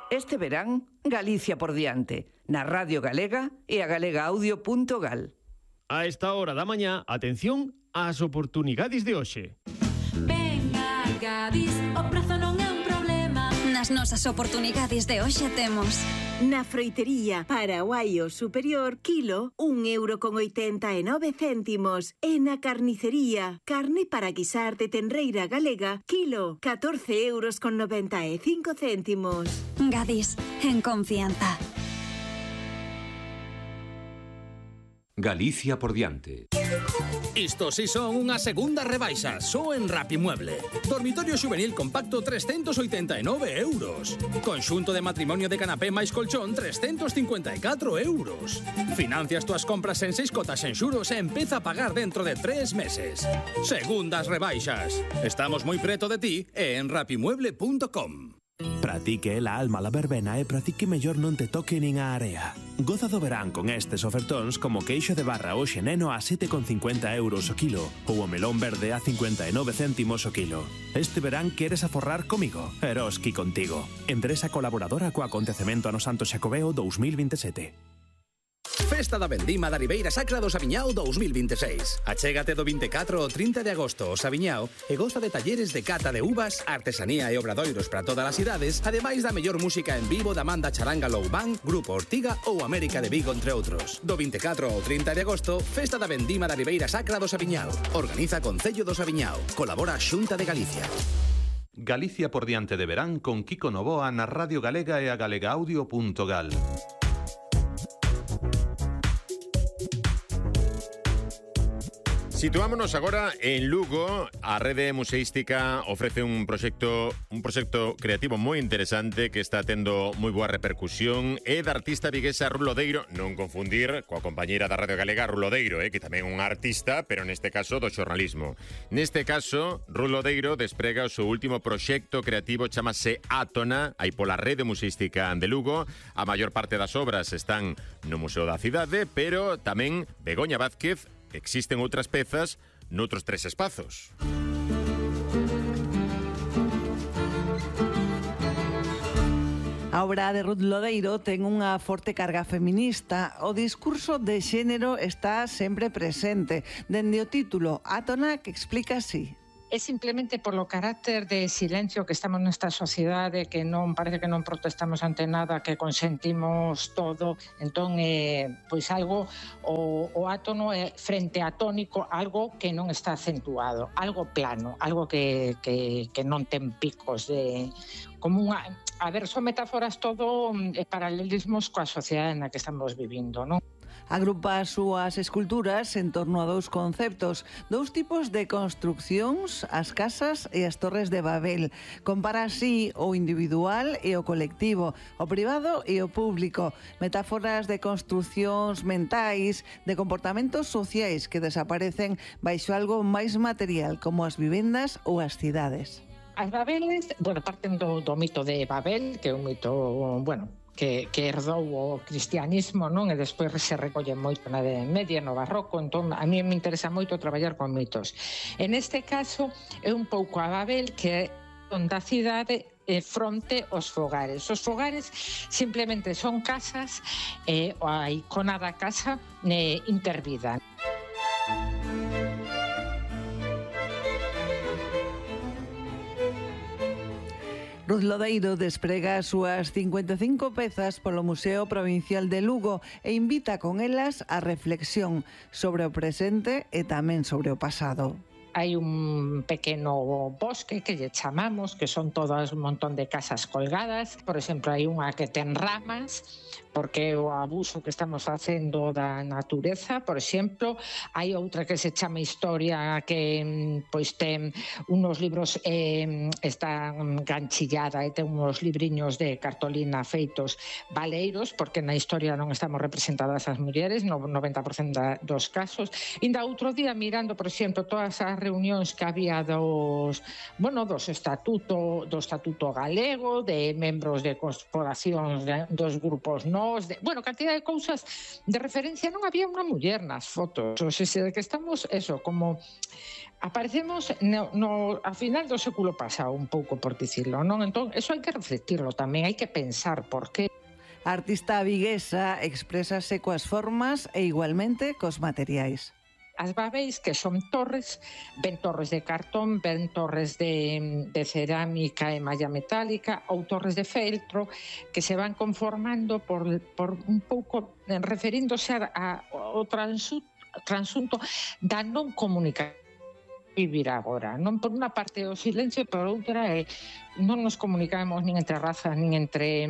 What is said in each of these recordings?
Este verán, Galicia por diante, na Radio Galega e a galegaaudio.gal. A esta hora da mañá, atención ás oportunidades de hoxe. Venga, Gadis, o prezo non é un problema. Nas nosas oportunidades de hoxe temos na froitería Paraguaio Superior, kilo, 1,89 €. E na carnicería, carne para guisar de tenreira galega, kilo, 14,95 €. Gadis, en confianza. Galicia por diante. Isto si son unha segunda rebaixa, só en Rapimueble. Dormitorio xuvenil compacto 389 €. Conxunto de matrimonio de canapé máis colchón 354 €. Financias túas compras en 6 cotas en xuros e empeza a pagar dentro de 3 meses. Segundas rebaixas. Estamos moi preto de ti e en rapimueble.com. Para ti que é a alma la verbena e para ti que mellor non te toque nin a area. Goza do verán con estes ofertóns como queixo de barra hoxe neno a 7,50 € o kilo ou o melón verde a 59 céntimos o kilo. Este verán queres aforrar comigo? Eroski contigo. Empresa colaboradora co acontecemento Ano Santo Xacobeo 2027. Festa da Vendima da Ribeira Sacra do Sabiñao 2026. Achégate do 24 ao 30 de agosto ao Sabiñao e goza de talleres de cata de uvas, artesanía e obradoiros para todas as idades, ademais da mellor música en vivo da Manda Charanga Low Band, Grupo Ortiga ou América de Vigo, entre outros. Do 24 ao 30 de agosto, Festa da Vendima da Ribeira Sacra do Sabiñao. Organiza Concello do Sabiñao. Colabora a Xunta de Galicia. Galicia por diante de verán con Kiko Novoa na Radio Galega e a galegaaudio.gal. Situámonos agora en Lugo. A rede museística ofrece un proxecto creativo moi interesante que está tendo moi boa repercusión. É da artista viguesa Ruth Lodeiro, non confundir coa compañeira da Radio Galega Ruth Lodeiro, que tamén é unha artista, pero neste caso do xornalismo. Neste caso, Ruth Lodeiro desprega o seu último proxecto creativo, chamase Átona, aí pola rede museística de Lugo. A maior parte das obras están no Museo da Cidade, pero tamén Begoña Vázquez. Existen outras pezas noutros 3 espazos. A obra de Ruth Lodeiro ten unha forte carga feminista. O discurso de xénero está sempre presente. Dende o título, Átona, que explica así. É simplemente polo carácter de silencio que estamos nesta sociedade, que non parece que non protestamos ante nada, que consentimos todo. Entón, pois algo, o átono é frente a tónico, algo que non está acentuado, algo plano, algo que non ten picos de como unha, a ver, son metáforas todo paralelismos coa sociedade na que estamos vivindo, non? Agrupa as súas esculturas en torno a 2 conceptos, 2 tipos de construccións, as casas e as torres de Babel. Compara así o individual e o colectivo, o privado e o público, metáforas de construccións mentais, de comportamentos sociais que desaparecen baixo algo máis material, como as vivendas ou as cidades. As Babeles, parten do mito de Babel, que é un mito, que herdou o cristianismo, non? E despois se recolle moito na Idade Media, no Barroco. Entón, a mí me interesa moito traballar con mitos. En este caso, é un pouco a Babel, que é onde a cidade fronte aos fogares. Os fogares simplemente son casas e a icona da casa intervida. Ruth Lodeiro desprega as súas 55 pezas polo Museo Provincial de Lugo e invita con elas a reflexión sobre o presente e tamén sobre o pasado. Hai un pequeno bosque que lle chamamos, que son todas un montón de casas colgadas. Por exemplo, hai unha que ten ramas, porque o abuso que estamos facendo da natureza. Por exemplo, hai outra que se chama Historia, que pois ten unos libros, está ganchillada e ten unos libriños de cartolina feitos baleiros, porque na historia non estamos representadas as mulleres no 90% dos casos. Inda outro día, mirando, por exemplo, todas as reunións que había dos estatuto galego, de membros de corporacións dos grupos nós, cantidad de cousas de referencia. Non había unha muller nas fotos, o sea, que estamos, como aparecemos a final do século pasado, un pouco por dicirlo, non? Entón, eso hai que reflectirlo tamén, hai que pensar por qué. A artista viguesa exprésase coas formas e igualmente cos materiais. As babeis, que son torres, ven torres de cartón, ven torres de cerámica e malla metálica ou torres de feltro que se van conformando por un pouco referíndose ao transunto da non comunicación vivir agora. Non por unha parte o silencio, por outra non nos comunicamos nin entre razas, nin entre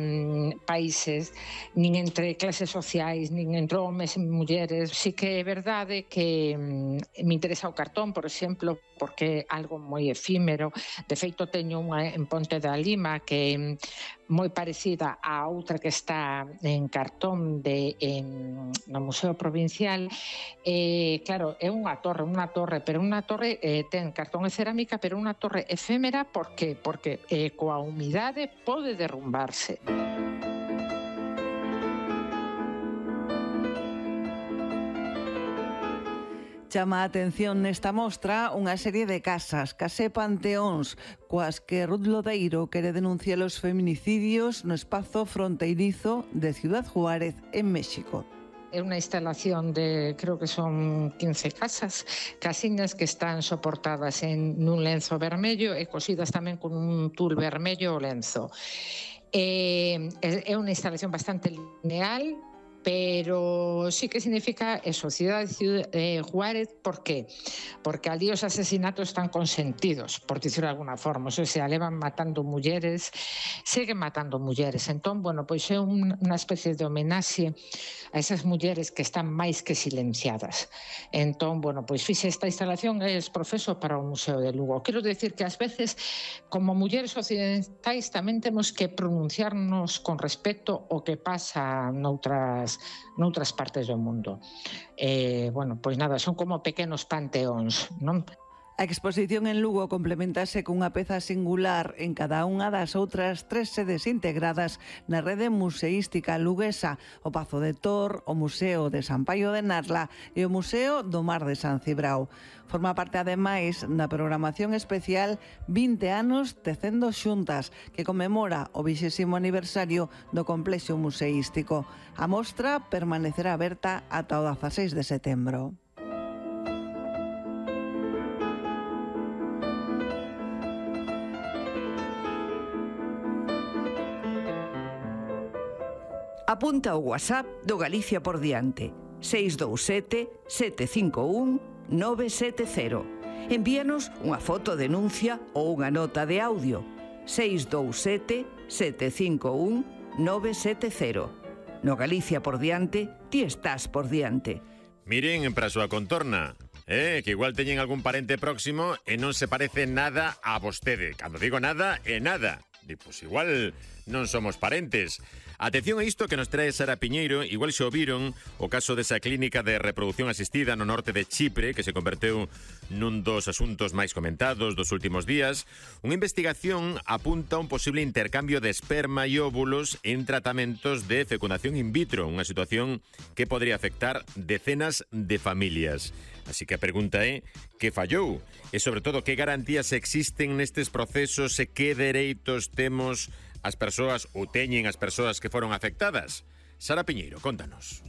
países, nin entre clases sociais, nin entre homes e mulleres. Si que é verdade que me interesa o cartón, por exemplo, porque é algo moi efímero. De feito, teño unha en Ponte da Lima que é moi parecida a outra que está en cartón no Museo Provincial. Claro, é unha torre, pero unha torre ten cartón e cerámica, pero unha torre efémera. Por qué? Porque coa humidade pode derrumbarse. Chama a atención nesta mostra unha serie de casas, case panteóns, coas que Ruth Lodeiro quere denunciar os feminicidios no espazo fronteirizo de Ciudad Juárez, en México. É unha instalación de, creo que son 15 casiñas que están soportadas nun lenzo vermello e cosidas tamén con un tul vermello o lenzo. É unha instalación bastante lineal, pero sí que significa eso, Ciudad Juárez. ¿Por qué? Porque ali os asesinatos están consentidos, por dicirlo de alguna forma. O sea, levan matando mulleres, seguen matando mulleres. Entón, pois é unha especie de homenaxe a esas mulleres que están máis que silenciadas. Entón, pois fixe esta instalación e es profeso para o Museo de Lugo. Quero decir que ás veces, como mulleres occidentais, tamén temos que pronunciarnos con respecto ao que pasa noutras partes do mundo. Pois nada, son como pequenos panteóns, non? A exposición en Lugo complementase cunha peza singular en cada unha das outras 3 sedes integradas na rede museística luguesa: o Pazo de Tor, o Museo de San Paio de Narla e o Museo do Mar de San Cibrao. Forma parte, ademais, da programación especial 20 anos tecendo xuntas, que conmemora o 20º aniversario do complexo museístico. A mostra permanecerá aberta ata o 16 de setembro. Apunta o WhatsApp do Galicia por diante: 627 751 970. Envíanos unha foto denuncia ou unha nota de audio: 627 751 970. No Galicia por diante, ti estás por diante. Miren para a súa contorna, que igual teñen algún parente próximo e non se parece nada a vostede. Cando digo nada, é nada. Pois igual non somos parentes. Atención a isto que nos trae Sara Piñeiro. Igual xa o viron o caso desa clínica de reproducción asistida no norte de Chipre, que se converteu nun dos asuntos máis comentados dos últimos días. Unha investigación apunta a un posible intercambio de esperma e óvulos en tratamentos de fecundación in vitro, unha situación que podría afectar decenas de familias. Así que a pregunta é: que fallou? E sobre todo, que garantías existen nestes procesos e que dereitos temos as persoas ou teñen as persoas que foron afectadas? Sara Piñeiro, contanos.